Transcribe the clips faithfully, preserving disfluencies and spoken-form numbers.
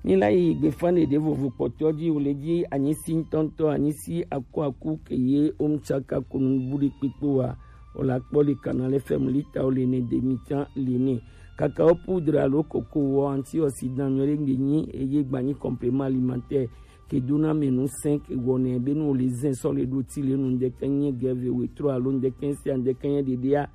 Mi la yi gbefa ɖeɖe vovo kpɔtɔ ji, o le ji anyisi ŋutɔŋutɔ, anyisi aku aku ke ye o mu tsaka kunu bu ɖi kpikpo wa. O la kpɔ le Canal F M lita o le ne demi tsan le ne. Kaka o poudre alo koko wɔ antioxydant nyɔ ɖe gbe nyi eye gba nyi complément alimentaire ke do na mɛ nu sɛn ke wɔ nɛ be nu o le zɛn sɔ le ɖo ti le nu ŋdɛkɛ nye gɛve wetro alo ŋdɛkɛ sia ŋdɛkɛ nye ɖeɖea.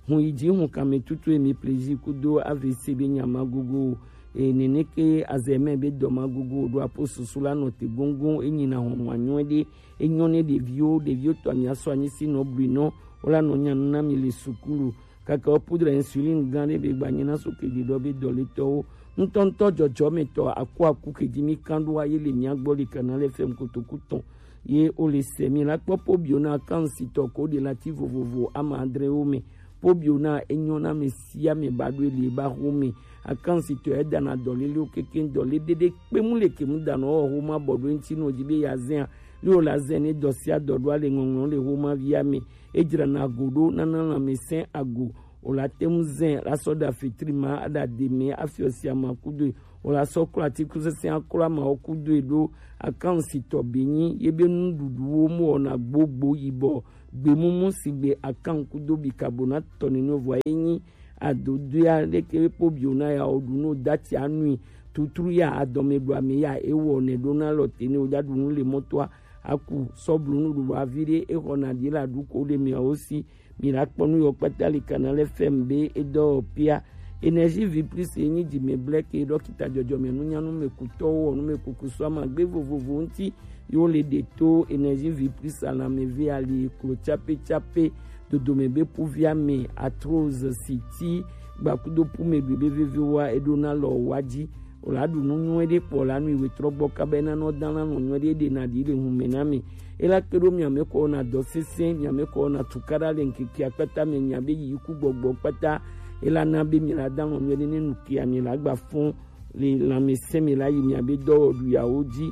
Hun yi ji hun kame tutu emi plaisir kudo A V C be nya ma gogo. E nene ke azɛ mɛ be dɔ ma gogo ɖo apo susu la nɔ te gongon e nyi na hɔn ma nyɔ ɖe. E nyɔ ne ɖeviwo, ɖeviwo tɔ mi asɔ anyi si nɔ bui nɔ, o la nɔ nya nu na mi le sukulu. Kaka o poudre insuline gan ɖe be gba nyi na so ke ɖi ɖɔ be dɔ le tɔwo. Ŋutɔŋutɔ dzɔdzɔmetɔ aku aku ke ji mi kan ɖo aye le mia gbɔ le Canal F M kotoku tɔn. Ye o le se mi la kpɔ pobio na akansitɔ ko de lati vovovo ama adre wo me. Pobio na enyo na me si ame ba do le ba ho me. Akansitɔ e dana dɔ le le o keke dɔ le dede kpe mu le ke mu dana o ho ma bɔ do ŋti no di be ya zɛn a. Le o la zɛn ne dɔ si a dɔ do ale ŋɔŋlɔ le ho ma vi ame. E dzra na go do na na la me sɛn ago. O la te ŋu zɛn la sɔ ɖa fitri ma aɖa de mɛ afiɔ sia ma kudo e. O la sɔ klo atikusese aklo ama wo kudo e ɖo akansitɔ be nyi ye be nuɖuɖuwo mu wɔna gbogbo yibɔ gbemumu sigbe akan kudo bikabonate tɔ nene vɔ ye nyi adodoea leke be pobio na ya o ɖu no dati anui tutru ya adɔme ɖu ame ya ewɔ ne ɖo na lɔ te ne o ɖa ɖu nu le mɔtoa aku sɔ blu nuɖuɖu avi ɖe exɔ na ɖi la ɖu ko le mia wo si. Mi la kpɔ nu yɔ kpata le Canal F M be edɔ pia. Énergie vie plus ye nyi dzi me blɛ ke dɔkita dzɔdzɔme nunyanu me kutɔwo wɔ nu me kuku sɔ ama gbe vovovo ŋti yo le de to Énergie vie plus alame ve ali klo tsape tsape dodome be puvia me arthrose siti gbakudo pume gbe be veve wa eɖo na lɔ wa dzi. O la ɖu nu nyuie ɖe kpɔ la nui wetrɔ gbɔ kaba ena nɔ dan la nɔ nyuie ɖe ɖe na ɖi le hume na me. E la kpe ɖo mia me kɔ na dɔ sese mia me kɔ na tukaɖa le ŋkeke akpata me mia be yi ku gbɔgbɔ kpata. E la na be mi la dan nɔ nyuie ɖe ne nu kia mi la gba fɔn le lãmesẽ me la yi mia be dɔwɔɖu yawo dzi.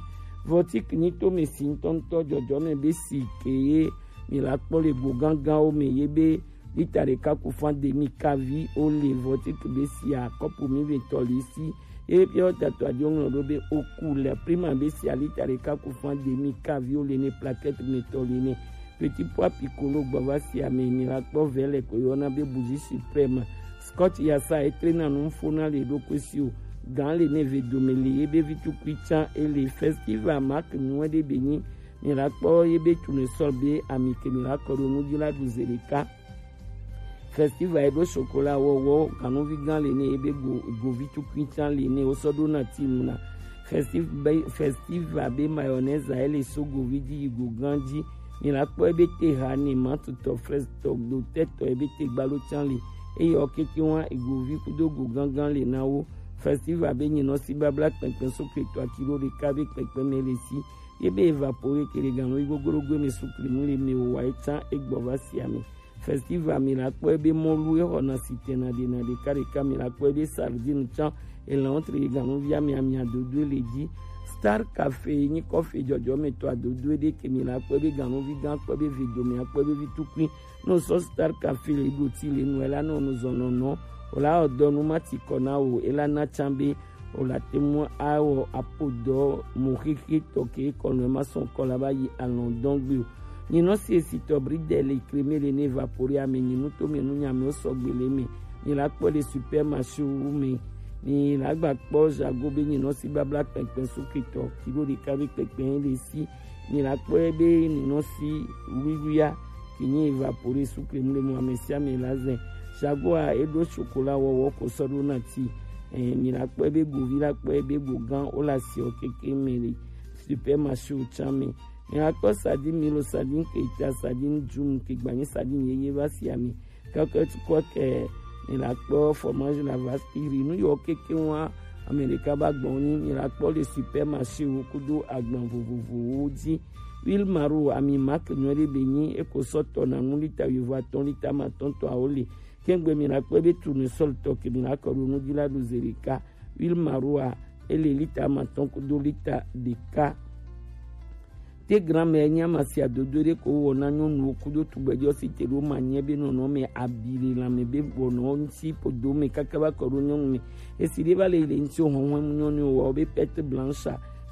Vɔtik nyi to me si ŋutɔŋutɔ dzɔdzɔ me be si ke ye mi la kpɔ le go gãgãwo me ye be lita ɖeka ku fan demi kavi o le vɔtik be sia kɔpu mi ve tɔ li si. Ye piɔ tato adio ŋlɔ ɖo be oku le prima be sia lita ɖeka ku fan demi kavi o le ne plaquette me tɔ li ne. Petit pois piccolo gbɔ va si ame mi la kpɔ vɛ le ko yɔna be bougie suprême. Scotch yasa etre na nu fo na le ɖo ko si o. Gan le ne ve dome le ye be vi tukui tsan e le festival mark nyuie ɖe be nyi. Mi la kpɔ ye be tournesol be ami ke mi la kɔ ɖo nu dzi la ɖu ze ɖeka. Festival e ɖo chocolat wɔwɔ ganuvi gan le ne ye be go govi tukui tsan le ne wo sɔ ɖo na ti mu na. Festiv be festival be mayonnaise a ele so govi dzi yi go gan dzi. Mi la kpɔ ebe te ha ni mantutɔ frestɔ do tɛtɔ ebe te gbalo tsan li. Eyɔ keke wa egovi kudo go gangan le na wo. Festival be nyinɔ si babla kpɛnkpɛn so kretɔ akilo ɖeka be kpɛnkpɛn me le si. Ye be evapore ke le ganlo yi gogorogo me sukli mu le me o wa etsan egbɔ va si ame. Festival mi la kpɔ ebe mɔlu exɔ na sitɛn na ɖe na ɖeka ɖeka mi la kpɔ ebe sardine tsan elan tre ganuvia mi amia dodo le dzi. Star Cafe nyi kɔfe dzɔdzɔmetɔ adodo ɖe ke mi la kpɔ ebe ganuvi gan kpɔ ebe vi dome akpɔ ebe vi tukui. No sɔ Star Cafe le ɖo ti le nu ela no nu zɔnɔnɔ o la ɔdɔ nu ma ti kɔ na o ela na tsan be o la te mu awɔ apo dɔ mo xexe tɔ ke kɔ nɔ ma sɔn kɔ la ba yi alɔn dɔn gbe o. Nyinɔ si esi tɔ bri dɛ le kreme le ne vapori ame nyinu to me nu nyame o sɔgbe le me. Ni la kpɔ le supermarché wu me. Ni la gba kpɔ jago be nyinɔ si babla kpɛkpɛ so ketɔ kilo ɖeka be kpɛkpɛ le si. Ni la kpɔ be nyinɔ si wiwia ki nyi evapori su kreme le mo ame sia ame la zɛ. Jago a eɖo chocolat wɔwɔ ko sɔ ɖo na ti. Eh, mi la kpɔ be govi la kpɔ be go gan o la si o keke me le supermarché o tsan me. Mi la kpɔ sardine milo sardine keta sardine djum ke gbanyi sardine yeye va si ame. Kaka tukɔ ke mi la kpɔ fromage la vaskiri nu yɔ keke wa ame ɖeka ba gbɔn ni mi la kpɔ le supermarché wo kudo agban vovovowo dzi. Huile maro ami marque nyuie ɖe be nyi eko sɔ tɔ na nu lita yovo atɔn lita ma tɔn tɔ awo le. Kengbe mi la kpɔ be tournesol tɔ ke mi la kɔ ɖo nu dzi la ɖo ze ɖeka. Huile maro a ele lita ma tɔn kudo lita ɖeka. Ye grand-mère nya masia dodo ɖe ko wɔ na nyɔnuwo kudo tugbɛjɔ si te ɖo ma nyɛ be nɔnɔ mɛ abi le lanmɛ be wɔnɔ ŋuti podo mɛ kaka va kɔ ɖo nyɔnu mɛ. Esi ɖe va le yi le ŋuti o hɔnhɔn mu nyɔnu wɔ be perte blanche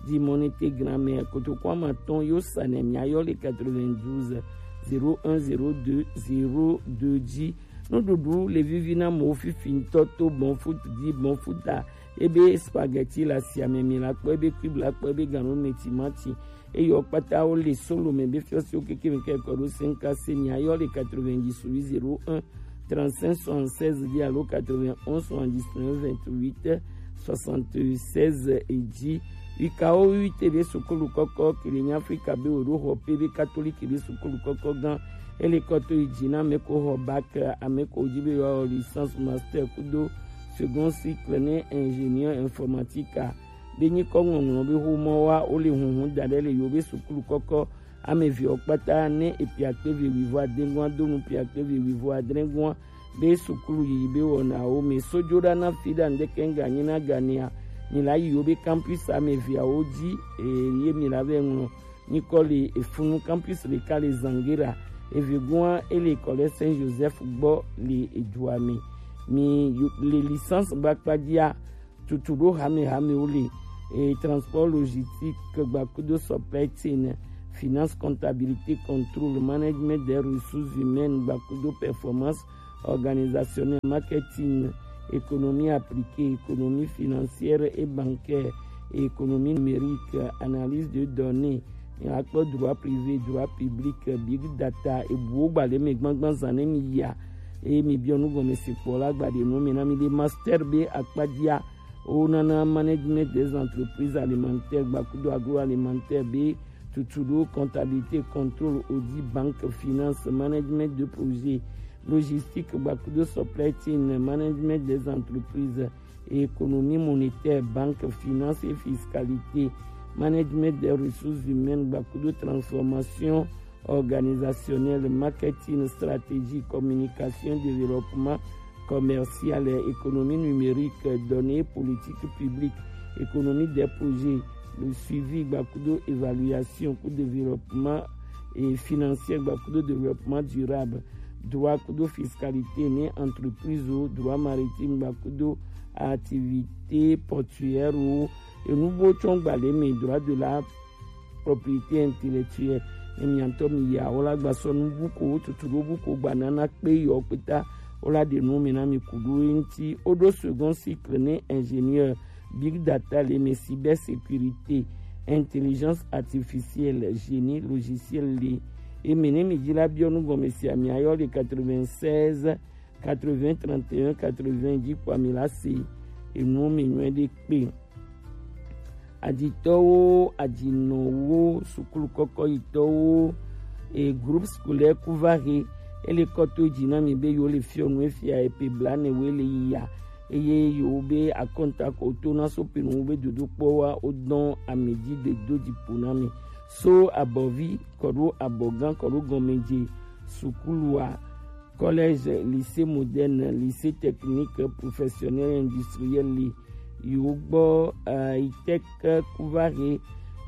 di mɔnete grand-mère kotoko ama tɔn yo sa nɛ mia yɔ le quatre-vingt-douze zéro un zéro deux zéro deux dzi. Nuɖuɖu le vivi na mo fifi ŋutɔ to bon foot di bon foot a ebe spaghetti le asia mɛ mi la kpɔ ebe cube la kpɔ ebe ganu mɛ timati eye wo kpata wo le solo mɛ be fiɔsiwo keke mi kɛ kɔ ɖo cinq k se mi ayɔ le quatre-vingt-dix-huit zéro un trente-cinq soixante-seize dzi alo quatre-vingt-onze soixante-dix-neuf vingt-huit soixante-seize dzi. Wikawo wi te be sukulu kɔkɔ kele nya Afrika be wo ɖo xɔ pe be katoliki be sukulu kɔkɔ gan ele kɔ to yi dzi na ame ko xɔ bac, ame ko dzi be yewoawɔ licence, master kudo second cycle ne ingénieur informatique a be nyikɔ ŋɔŋlɔ be xomɔ wa wo le hunhun da ɖe le yewo be sukulu kɔkɔ ame eveawo kpata ne epiakpe ve wuivo ade gɔn do nu piakpe ve wuivo adre gɔn be sukulu yiyi be wɔnawo me sojo ɖa na fi ɖa ŋdeke ŋga nyi na ganea mi la yi yewo be campus ame eveawo dzi eye mi la vɛ ŋlɔ nyikɔ le efunu campus ɖeka le Zangera, eve gɔn ele kɔ le Saint Joseph gbɔ le edua me. Mi yo- le licence gbakpa dzia tutu ɖo hame hamewo le e transport logistique gbakudo supply chain, finance, comptabilité, contrôle, management des ressources humaines gbakudo performance organisationnelle, marketing, économie appliquée, économie financière et bancaire, et économie numérique, analyse de données, akpɔ droit privé, droit public, big data, ebuwo gba le me gbangban zan ne mi ya, eye mi biɔ nu gɔme se kpɔ la gba ɖe nu me na mi ɖe master be akpa dzia wo nana management des entreprises alimentaires gbakudo agroalimentaire be tutu ɖo comptabilité, contrôle, audit, banque, finance, management de projet, logistique gbakudo supply chain, management des entreprises, économie monétaire, banque, finance et fiscalité, management des ressources humaines gbakudo transformation organisationnelle, marketing, stratégie, communication, développement commercial, économie numérique, données, politique publique, économie des projets, le suivi gbakudo évaluation kudo développement et financier gbakudo développement durable, droit kudo fiscalité ne entreprise o, droit maritime gbakudo activité portuaire o, enu bo tsɔ gba le me, droit de la propriété intellectuelle. Ne miatɔ mi ya wo la gba sɔ nu bu ko tutu ɖo bu ko gba nana kpe yɔ kpeta wo la ɖe nu me na mi ku ɖo eŋti. Wo ɖo second cycle ne ingénieur, big data le me, cyber sécurité, intelligence artificielle, génie logiciel le. Eme ne mi dzi la biɔ nu gɔme sia mi ayɔ le quatre-vingt-seize quatre-vingts trente et un quatre-vingts dzi kpɔ mi la se enu me nyuie ɖe kpe. Aditɔwo, adinɔwo, sukulu kɔkɔyitɔwo, e groupe scolaire Kuvare, ele kɔ to dzi na mi be yewo le fiɔ nu efia epe bla ne wo le yi ya eye yewo be akɔnta ko to na so pe nu be dodokpɔ wa wo dɔn ame dzi de do dzi po na mi so abɔvi kɔ ɖo abɔgã kɔ ɖo gɔmedze sukulu a collège, lycée moderne, lycée technique professionnel industriel li. Yewo gbɔ, eh, ITEC Kuvare,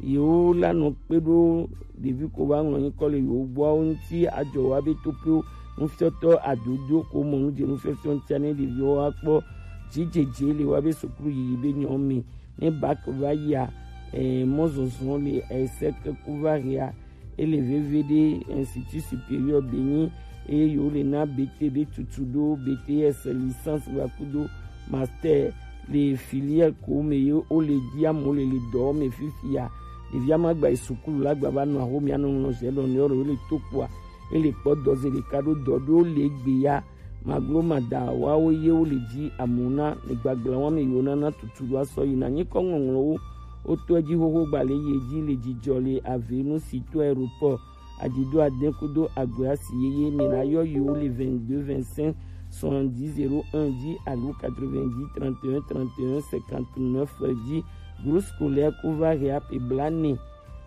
yewo la nɔ kpe ɖo ɖevi ko va ŋlɔ nyikɔ le yewo gbɔawo ŋuti adzɔ wa be toƒewo nufiɔtɔ adodo ko mɔ nu dze nufiɔfiɔ ŋutia ne ɖeviwo wa kpɔ dzidzedze le wa be sukulu yiyi be nyɔ me ne bac va yia, eh, mɔzɔzɔ le, eh, ITEC Kuvarea ele veve ɖe Institut Supérieur Benin eye yewo le na B T B tutu ɖo B T S, licence gbakudo master le filière ko me ye wo le dzi amewo le le dɔ me fifia. Ɖevia ma gba yi sukulu la gba va nɔ axomea nɔ ŋlɔ zɛ lɔ ne yɔ le to kpoa ele kpɔ dɔze ɖeka ɖo dɔ ɖo le gbe ya. Maglo mada wawo ye wo le dzi amuna le gbagblã wa me yewo nana tutu ɖo asɔ yi na nyikɔ ŋɔŋlɔwo wotɔe dzi xoxo gba le ye dzi le dzidzɔ le avenu si to aéroport adido ade kudo agbe asi yeye me la yɔ yewo le vingt-deux vingt-cinq soixante-dix zéro un dzi alo quatre-vingt-dix trente et un trente et un cinquante-neuf dzi. Groupe scolaire Kuvarea pe bla ne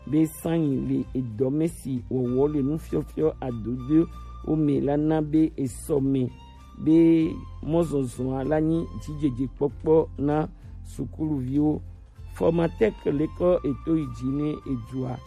be sanyi le edɔme si wɔwɔ le nufiɔfiɔ adodowo me la na be esɔ me be mɔzɔzɔa la nyi dzidzedzekpɔkpɔ na sukuluviwo. Formatec lekɔ eto yi dzi ne edua.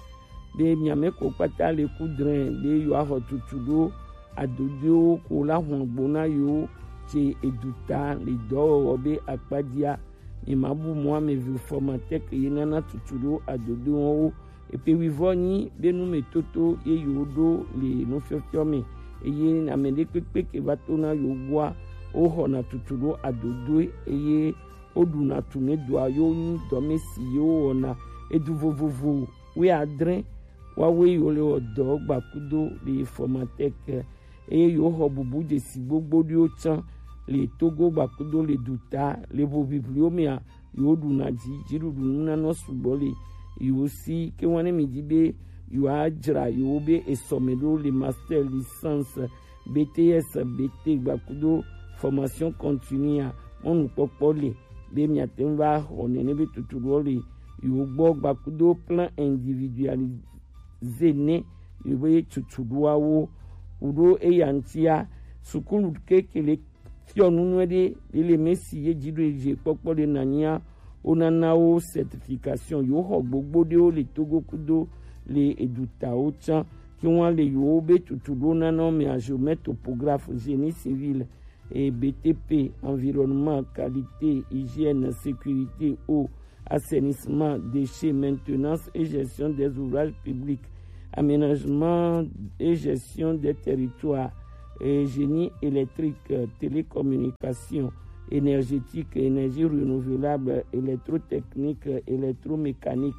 be miame ko kpata le kudrɛn be yewoaxɔ tutu ɖo adodoewo ko la hɔn gbo na yewo ce eduta le dɔwɔwɔ be akpadia. Mi ma bu mɔ ame vi fɔmatɛk ye nana tutu ɖo adodoewo. Epe wivɔ nyi be nu me toto ye yewo ɖo le nufiɔfiɔ me, eye ame ɖekpekpe ke va to na yewo gbɔa, woxɔna tutu ɖo adodoe, eye woɖuna tumedoa yo nyi dɔme si yewo wɔna. Edu vovovo wuiadre wawoe yewo le wɔ dɔ gbakudo le fɔmatɛk, eye yewo xɔ bubu dzesi gbogbo ɖiwo tsã le Togo gbakudo le duta le ʋoʋiʋliwo mea, yewo ɖuna dzi dziɖuɖu nunanɔ sugbɔ le yewo si. Ke wane mi dzi be yewoadzra yewo be esɔme ɖo le master, licence, B T S, B T gbakudo formation continue a, mɔnukpɔkpɔ le be miate ŋu va xɔ nene be tutu ɖo le yewo gbɔ gbakudo plan individualisé ne yewo be tutu ɖoawo. Kuɖo eya ŋutia, sukulu keke le fiɔ nu nyuie ɖe, le le me si ye dzi ɖo ye dzi kpɔkpɔ ɖe nanyia, wonana wo certification. Yewo xɔ gbogbo ɖewo le Togo kudo le edutawo tsã, ke woa le yewo be tutu ɖo nana wo mea, géomètre, topographe, génie civil, et B T P, environnement, qualité, hygiène, sécurité, eau, assainissement, déchets, maintenance et gestion des ouvrages publics, aménagement et gestion des territoires, et génie électrique, télécommunication, énergétique, énergie renouvelable, électrotechnique, électromécanique,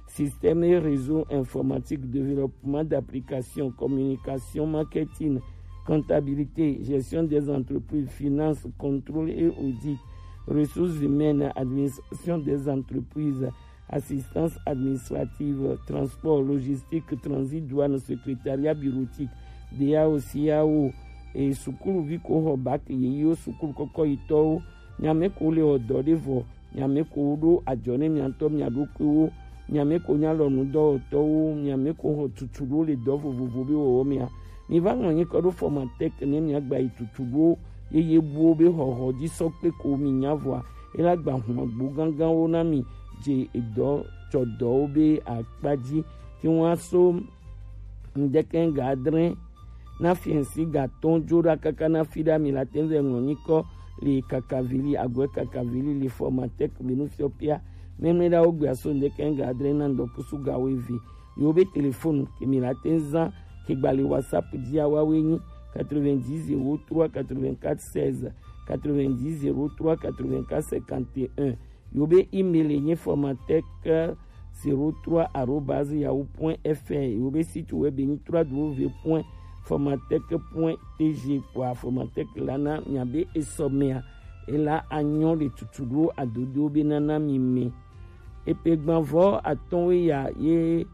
système et réseau informatique, développement d'applications, communication, marketing, comptabilité, gestion des entreprises, finance, contrôle et audit, ressources humaines, administration des entreprises, assistance administrative, transport, logistique, transit, douane, secrétariat bureautique, D A O, C A O, et sukuluvi ko xɔ bac yeyewo, sukulu kɔkɔ yitɔwo, nyame ko le wɔ dɔ ɖe vɔ, nyame ko ɖo ajɔ ne mia ŋutɔ mia ɖokuiwo, nyame ko nya lɔ nudɔwɔtɔwo, nyame ko xɔ tutu ɖo le dɔ vovovo be wɔwɔ mea. Mi va ŋlɔ nyikɔ ɖo fɔmatɛk ne mia gba yi tutu ɖo yeye buwo be xɔxɔ dzi sɔ kpe ko mi nya vɔa, ela gba hɔn agbo ganganwo na mi dze edɔ tsɔ dɔwo be akpa dzi. Ti ŋua so ŋdɛkɛ ga adre na fiɛnsi ga tɔn dzo ɖa kaka na fi ɖa mi la te ŋu vɛ ŋlɔ nyikɔ le kakavili agɔɛ kakavili le fɔmatɛk be nu fiɔ pia. Mɛmlɛ ɖa wo gbe aso ŋdɛkɛ ga adre na ŋdɔkusu ga wo eve. Yewo be telefonu ke mi la te ŋu zan ke gba le WhatsApp dzi awa we nyi quatre-vingt-dix zéro trois quatre-vingt-quatre seize, quatre-vingt-dix zéro trois quatre-vingt-quatre cinquante et un. Yewo be email ye nyi fɔmatɛk zéro trois arobase yahoo point F R. Yewo be site web ye nyi trois W point formatec point T G. Kpoa fɔmatɛk la na mia be esɔ mea, ela anyɔ le tutu ɖo adodo be nana mi me. Epe gbanvɔ atɔn we ya ye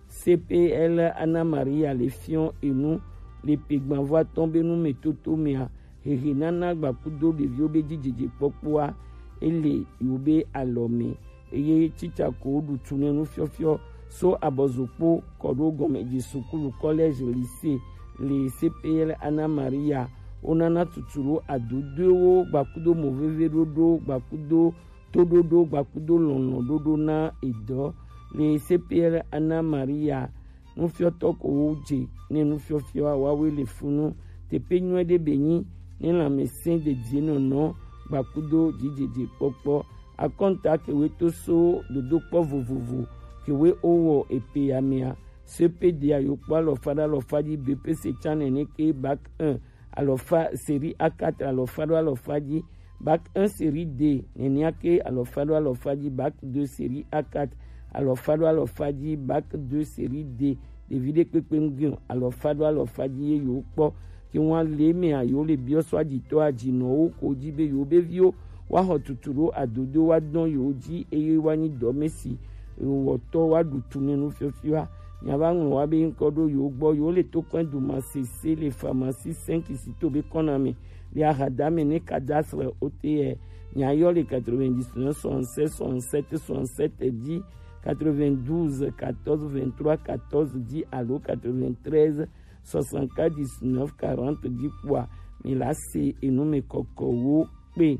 C P L Ana Maria le fiɔ enu le pe gbanvɔ atɔn be nu me toto mea, hehe nana gbakudo ɖeviwo be dzidzedze kpɔkpɔa, ele yewo be alɔ me. Eye tsitsa ko ɖu tu ne nufiɔfiɔ so abɔzokpo kɔ ɖo gɔmedze sukulu, collège, lycée, le C P L Ana Maria. Wonana tutu ɖo adodoewo gbakudo moveve ɖoɖo gbakudo toɖoɖo gbakudo lɔlɔ̃ ɖoɖo na edɔ le C P L Ana Maria. Nufiɔtɔ ko wo dze ne nufiɔfiɔ wawe le funu. Teƒe nyuie ɖe be nyi ne lãmesẽ dedie nɔnɔ gbakudo dzidzedze kpɔkpɔ. Akɔnta kewe to so dodokpɔ vovovo kewe owɔ epe ya mea. C P D a yo kpɔ alɔfa ɖe alɔfa dzi, B P C tsã nene ke, bac un alɔfa, série A quatre alɔfa ɖo alɔfa dzi, bac un série D nenia ke alɔfa ɖo alɔfa dzi, bac deux série A quatre alɔfa ɖo alɔfa dzi, bac deux série D, ɖevi ɖe kpekpe ŋgui o, alɔfa ɖo alɔfa dzi ye yewo kpɔ. Ke ŋua le mea yewo le biɔ so adzitɔ adzinɔwo ko dzi be yewo be viwo woaxɔ tutu ɖo adodo woadɔn yewo dzi eye woanyi dɔme si wɔtɔ woaɖu tu ne nufiɔfiɔa. Miava ŋlɔ wa be ŋkɔ ɖo yewo gbɔ. Yewo le Tokpɛn Duma sese le pharmacie cinq si to be kɔna me le ahadame ne cadastre O T R. Miayɔ le quatre-vingt-dix-neuf soixante-sept soixante-sept soixante-sept dzi, quatre-vingt-douze quatorze vingt-trois quatorze dzi alo quatre-vingt-treize soixante-quatre dix-neuf quarante dzi kpoa mi la se enu me kɔkɔwo kpe.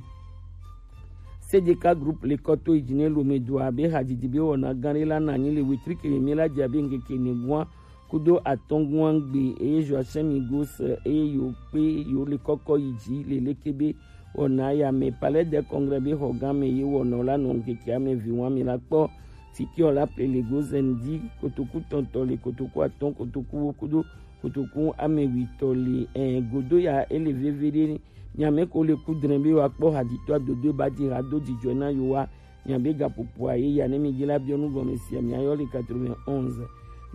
C D K Group le kɔ to yi ji ne Lomé do abe hajiji be wɔna gã ɖe la na anyi le wetri ke mɛ la ji abe ŋkeke ne gua kudo atɔn gua gbe eye Joachim Migos eye yo kpe yo le kɔkɔ yi ji le leke be wɔna ya mɛ Palais des Congrès be xɔ gã mɛ ye wɔna la nɔ ŋkeke ame vi wa mi la kpɔ. Tiki ɔ la ple le gozen di kotoku tɔntɔ le kotoku atɔn kotoku wo kudo kotoku ame witɔ le ɛ godo ya ele veve ɖe Nyame ko le ku dre be wa kpɔ haditɔ dodo ba di ha do jijɔ na yo wa. Nyame ga popo a ye ya ne mi ji la biɔ nu gɔme sia mi ayɔ le quatre-vingt-onze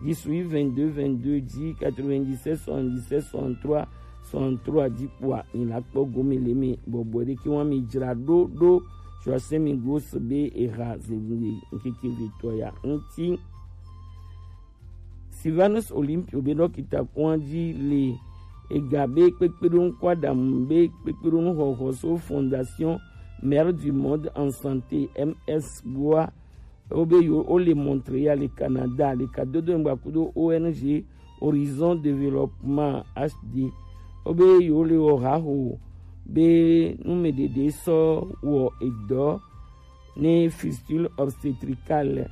dix-huit vingt-deux vingt-deux dix quatre-vingt-dix-sept soixante-dix-sept soixante-trois soixante-trois di kpoa mi la kpɔ gome le mi bɔbɔ ɖe ke wa mi jra ɖo ɖo sɔ se mi go se be eha ze ŋkeke vetɔ ya ŋti. Sylvanus Olympio be dɔkita kɔn dzi le ega be kpekpeɖonu kɔ aɖamu be kpekpeɖonu xɔxɔ so Fondation Mère du Monde en Santé M S gbɔa. Wo be yo wo le Montréal le Canada le kadodo ŋgba kudo O N G Horizon Développement H D. Wo be yo le wɔ haho be numeɖeɖe sɔ wɔ edɔ ne fistule obstétricale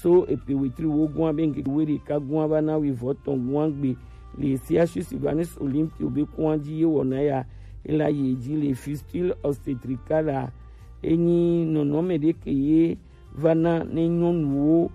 so epe wetri wo gua be ŋkeke we ɖeka gua va na wi vɔ tɔn gua gbe le C H U Sylvanus Olympio be kua dzi ye wɔna ya ela ye dzi le fistule obstétricale a enyi nɔnɔme ɖe ke ye va na ne nyɔnuwo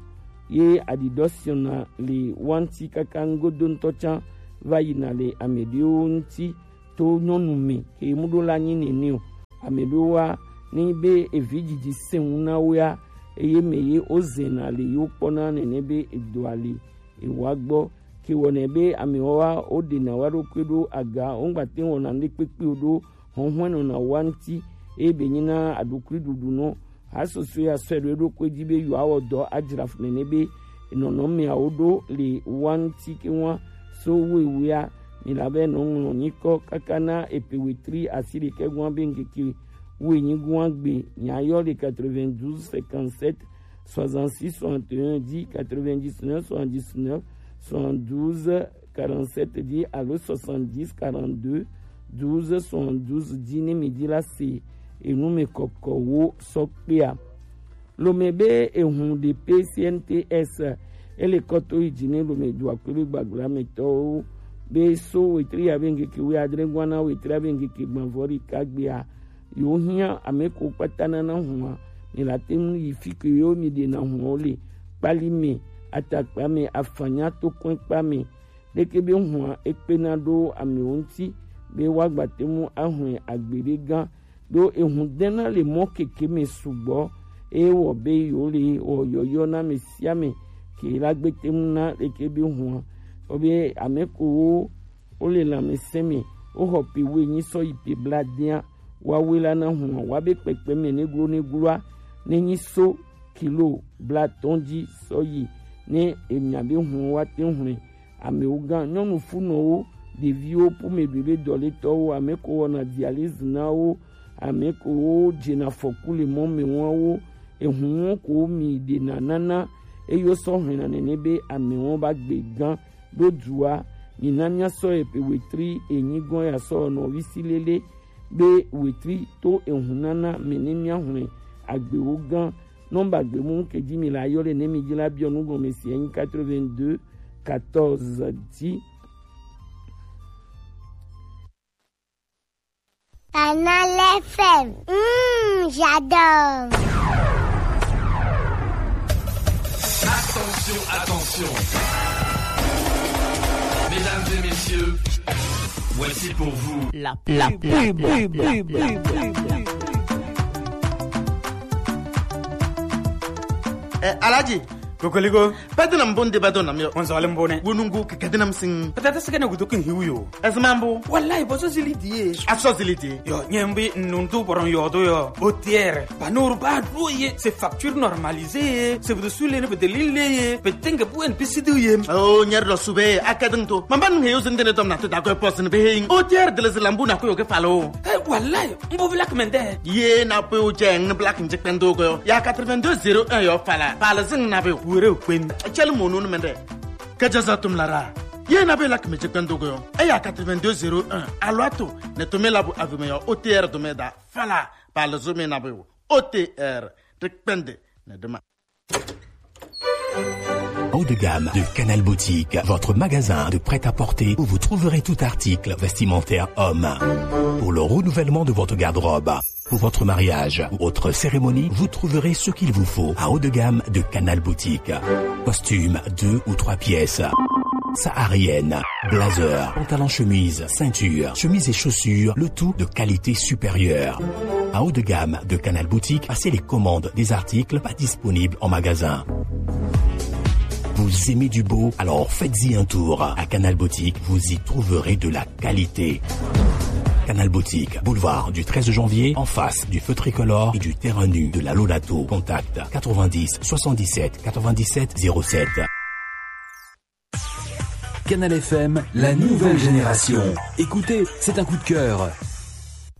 ye aɖiɖɔ siɔna le wa ŋti kaka ŋgodo ŋtɔ tsã va yina le ame ɖewo ŋti to nyɔnu me ke mu ɖo la nyi nene o. Ame ɖewo wa ne be evi dzidzi se ŋu na wo ya eye me ye wo zena le yewo kpɔna nene be edoa le ewa gbɔ ke wɔnɛ be amewo wa wo ɖena wa ɖokui ɖo aga wo ŋgba te wɔna ŋɖe kpekpe o ɖo hɔnhɔn nɔna wa ŋti eye be nyina aɖukui ɖuɖu nɔ Hasoso ya sɔe ɖo eɖokui dzi be yewoawɔ dɔ adzra fu nene be nɔnɔmeawo ɖo le wa ŋti ke wa so wewea mi la be nɔ ŋlɔ nyikɔ kaka na epe wetri asi ɖekɛ gua be ŋkeke wenyi gua gbe nya yɔ le quatre-vingt-douze cinquante-sept soixante-six soixante et un dix quatre-vingt-dix-neuf soixante-dix-neuf soixante-douze quarante-sept dzi alo soixante-dix quarante-deux douze soixante-douze dzi ne mi dzi la se enu me kɔkɔwo sɔ kpea. Lome be ehun ɖe pe C N T S ele kɔ to yi dzi ne Lome do akpe be gbagla me tɔwo be so wetri ya be ŋkeke wi adre gua na wetri ya be ŋkeke gbavɔ ɖeka gbea yo hia ame ko kpata nana hua mi la te ŋu yi fi ke yo mi ɖena hua wo le kpali me atakpa me afanya to kɔe kpa me ɖeke be hua ekpena ɖo amewo ŋti be woagba te ŋu ahɔe agbe ɖe gã ɖo ehun dena le mɔ keke me sugbɔ eye wɔ be yewo le wɔ yɔyɔ na ame sia ame ke la gbe te ŋu na ɖeke be hua wɔ be ame kowo wo le lãmesẽ me wo xɔ pe wo enyi sɔ yi pe bla dea wa we la na hua wa be kpekpe me ne glo ne gloa ne nyi so kilo blatɔ̃ dzi sɔ yi ne emia be hun wa te hlɔ̃e. Amewo gã, nyɔnu funɔwo, ɖeviwo, ƒome ɖoɖe dɔletɔwo, ame ko wɔna dialyse na wo, ame ko wo dzena afɔku le mɔ me wɔn wo, ehun wɔn ko mi ɖena nana, eye wosɔ hlɔ̃na nene be amewo ba gbe gã ɖo dua. Mina míasɔ epe wetri enyi gɔ̃ ya sɔ nɔvi si lele be wetri to ehun nana me ne míahlɔ̃e agbewo gã. Nɔmba gbemu ke dzi mi la yɔ le ne mi dzi la biɔ nu gɔme si enyi quatre-vingt-deux quatorze dzi. Canal F M. Mmh, j'adore. Attention, attention. Mesdames et messieurs, voici pour vous la, la pub. Eh, Alhaji. Kokoliko. Padina mbonde badona mio. Onzo wale mbone. Wonungu kikadina msing. Patata sikana gudu kin hiu yo. Azmambo. Wallahi, boso zili die. Aso zili die. Yo, nyembi nundu boron yodo yo. O tiers. Banur ba do ye. C'est facture normalisée. C'est vous dessus les ne de l'île ye. Petenge bu en pisidu ye. Oh, nyer do sube. Akadin to. Mamban he yo zindene dom na te dago post ne behein. O tiers de les lambu na ko yo ke falo. Eh, wallahi. Mbo black mende. Ye na pe o jeng black nje kpendo go. Ya quatre-vingt-deux zéro un yo fala. Pala zing na be wure kwen. Chel mo no mende. Kajaza tum lara. Ye na be lak me je kpendo go. E ya quatre-vingt-deux zéro un. Alwato. Ne to me labu avime yo. O tiers do me da. Fala. Pala zo me na be. O T R. Haut de gamme de Canal Boutique, votre magasin de prêt-à-porter où vous trouverez tout article vestimentaire homme. Pour le renouvellement de votre garde-robe, pour votre mariage ou autre cérémonie, vous trouverez ce qu'il vous faut à haut de gamme de Canal Boutique. Costume deux ou trois pièces. Saharienne, blazer, pantalon chemise, ceinture, chemise et chaussures, le tout de qualité supérieure. À haut de gamme de Canal Boutique, passez les commandes des articles pas disponibles en magasin. Vous aimez du beau ? Alors faites-y un tour. À Canal Boutique, vous y trouverez de la qualité. Canal Boutique, boulevard du treize janvier, en face du feu tricolore et du terrain nu de la Lolato. Contact quatre-vingt-dix soixante-dix-sept quatre-vingt-dix-sept zéro sept. Canal F M, la nouvelle génération. Écoutez, c'est un coup de cœur.